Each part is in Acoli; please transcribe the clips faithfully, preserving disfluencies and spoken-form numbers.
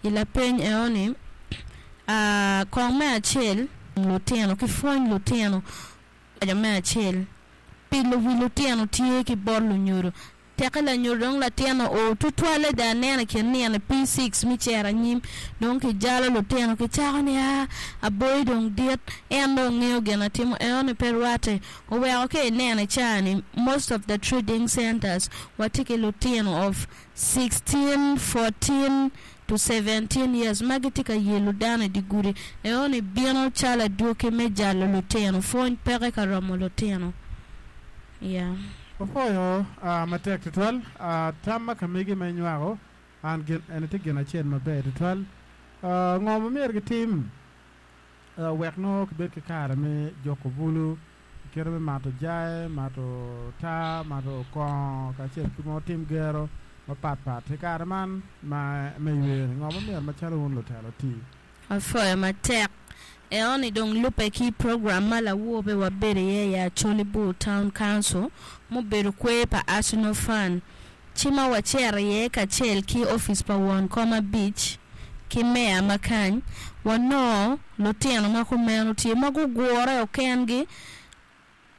I lapeny eno-ni ah, kong me acel lutino ki pwony lutino me acel pilo wi lutino tye ki bot lunyodo teke lanyodo dong latin oo tutwalle dong aneno i kin nino P six me cito anyim dong kijalo lutino kicako ni aa aboi dong dit en dong ngeyo gin na timo enoni pe rwatte oweko ka ineno i caa-ni most of the trading centers watye ki lutino of sixteen, fourteen to seventeen years ma gitye ka yelo dano i dye gudi enoni bino calo adwogi me jalo lutino pwony peke ka romo lutino yeah. Opwoyo matek tutwal tam ma ka megi ma inywako an gin eni tye gin acel maber tutwal ngo ma myero gitim wek nongo kibed ki kare me juko bulu kite me mato jayi mato taa mato kongo kacel ki mo tim gero mapatpat i kare man ma me yweyo-ni ngo ma myero macalo wun lutelo ti Apwoyo matek enoni dong lube ki program ma lawobe wabedo iye i Acholi Bur Town Council mubedo kwer pa Arsenal Fund ci ma wacito iye kacel ki ofice pa won kom abic ki meya ma kany wanongo lutino ma kumeno tye ma gugure kengi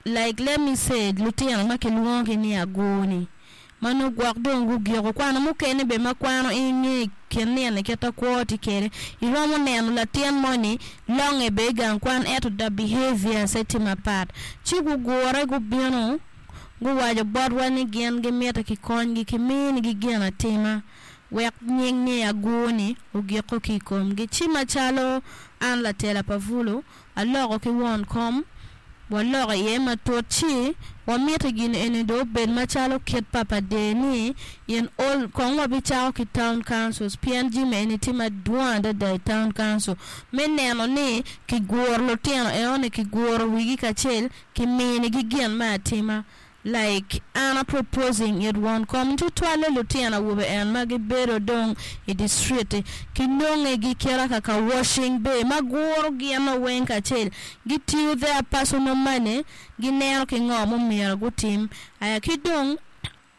like let me say lutino ma kilwongogi ni agur-ni ma nongo gwok dong gugiko kwano mukene bene ma kwano inge i kin nino kita kwo tye kwede iromo neno latin moni longe bene i gang kwan ento the behaviors tye mapat ci gugure gubino guwaco botwa ni gin gimito kikonygi kiminigi gin atima wek nying ni agur-ni ogiko ki i komgi ci macalo an latela pa bulu aloko ki won kom waloko iye matut ci wamito gin eni dong obed macalo kit pa pa der ni in all kong wabicako ki town councils pien jami eni tye madwong adada i town council me neno ni kiguro lutino enoni kiguro wigi kacel kiminigi gin me atima like an a proposing it won kom tutwalle lutino awobe en ma gibedo dong i district kinonge kit kaka washing bay ma guro gin weng kacel gitiyo their personal money gineno ki ngo mumyero gutim aya ki dong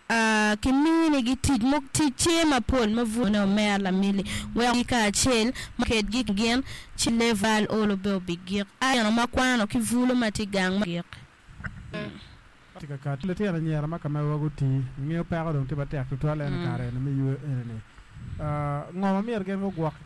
uh, kiminigi tic mo tic tye mapol ma bwone omera lamili wek kacel ma kedgi gin ci level olo be obigik ano ma kwano ki bulu ma tye gang ma gik tye ka kat lutino anyira ma ka mewa guti ingeyo peko dong tye matek tutwal en i kare eni me yweyo eni-ni ngo ma myero gin gugwokke